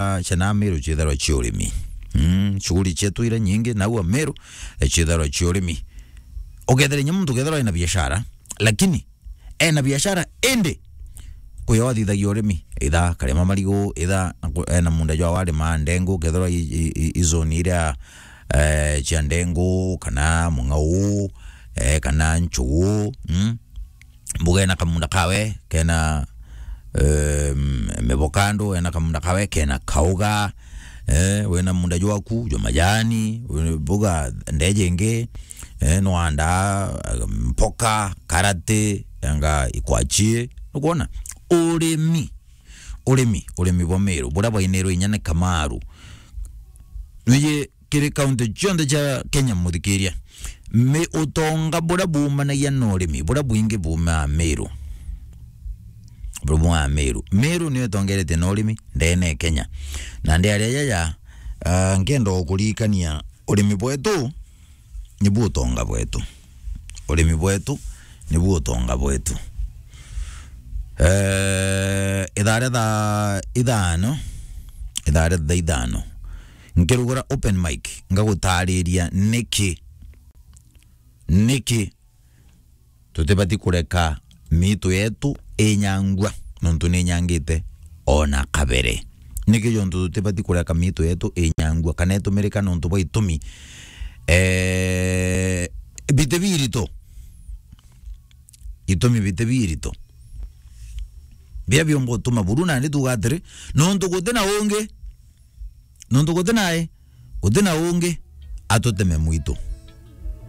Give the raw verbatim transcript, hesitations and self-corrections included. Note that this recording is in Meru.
ah, cia na Meru ciitharwa cia urimi. Mm, shughuli cietu iria nyingi nau a Meru, eh, ciitharwa cia urimi. Ukethira inya muntu ukethirwa ena biashara, lakini ena biashara indi kuyo athithagia urimi, itha karima marigu, itha na ku-, ena munda jwa warima ndengu, kethirwa i, i, i, i zone iria, eh, cia ndengu, kana mung'au, eh, kana nchugu, mm? Mbuga ena kamunda kawe kena, em, mivokando, ena kamunda kawe kena kauga, eh, wena munda jwaku jwa majani, we-, mbuga ndeje ingi, eh, nwanda, mpoka, karati, anga ikwachi, nukwona? Urimi, urimi, urimi bwa Meru, buria bwainirwe inya ni Kamaru. Nwiji kiri kaunti cionthe cia Kenya, muthikiria, mi-, utonga buria buumanagia na urimi, buria bwingi buumaa Meru. Buria buumaa Meru. Meru niyo itongeretie na urimi ndene ya Kenya. Na ndi aria jaja, ah, nkenda o kuririkania urimi bwetu nibu utonga bwetu. Urimi bwetu nibu utonga bwetu. Eh, ithaa ria thaa ithano, ithaa ria thaa ithano, nkirugura open mic, ngagutariria niki, niki tutibati kureka miitu yetu inyangua, nontu ni inyangite ona kabere. Niki jontu tutibati kureka miitu yetu inyangua, kana itumirika nontu bwa itumi, eh, biti birito. Itumi biti birito. Biria biumba utuma buru, nandi tuuga atiri, nontu guti na ungi, nontu guti na i, guti na ungi atuteme mwitu.